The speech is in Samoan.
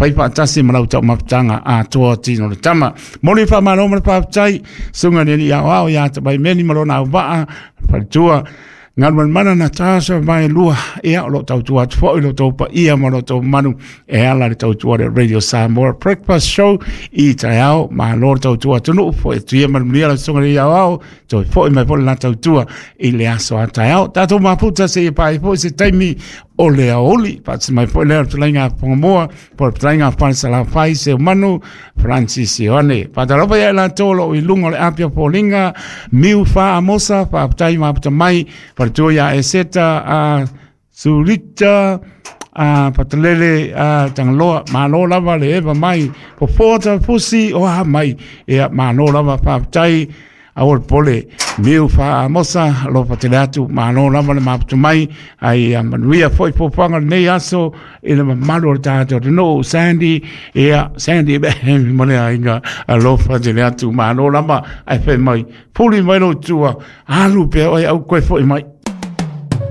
Fai faatasi ma lau taumafataga atoa tino le tama. Moli faamalo ma le faafetai, susuga i le Alii Aoao ia Tapaimeni ma lona auvaa, faletua Galumalemana Natasha Vaelua, ia o lo o tautua atu foi lo outou paia ma lo outou mamalu e ala le tautua le Radio Samoa Breakfast Show i taeao. Malo le tautua atunuu, foi atu ia ma le manuia lau susuga i le Alii Aoao, toe foi mai foi le la tautua i le aso a taeao. Tatou mafuta seia paia foi se taimi o le aoauli. Faatasi mai foi lea o le fetalaiga a Fogamoa, po o le fetalaiga a Falesalafai Seumanu Francis Ioane. Faatalofa ia i latou o lo o i luga o le api o foliga, Miu Fa Amosa, faafetai mafuta mai, faletua ia Eseta a Sulita a Patalele a Tagaloa, malo lava le eva mai, fofoa tafusi o a mai, ia malo lava faafetai. Aua le popole, Miu Fa Amosa, alofa tele atu, malo lava le mafuta mai, ai ia manuia foi fuafuaga o lenei aso i le mamalu o le tatou atunuu. Sandy, ia Sandy ma le aiga, alofa tele atu, malo lava, ae fai mai, fuli mai lou tua, alu pea oe au koe foi mai.